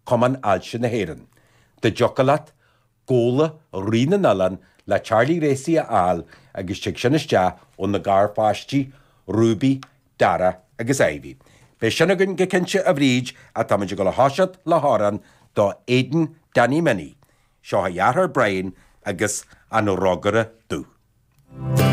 Cumann Ailse na hÉireann. Dá dtiocfadh leat Gabhla Rí na nOileán le Charlie Racy a fháil agus tig sin isteach ó na garpháistí, Ruby, Dara agus Ivy. Beidh sin againn go cinnte a Bhríd ach táimid ag dul a thoiseacht le hamhrán do Aidan Danny Minnie. Seo a dheartháir Brian agus an Rógaire Dubh.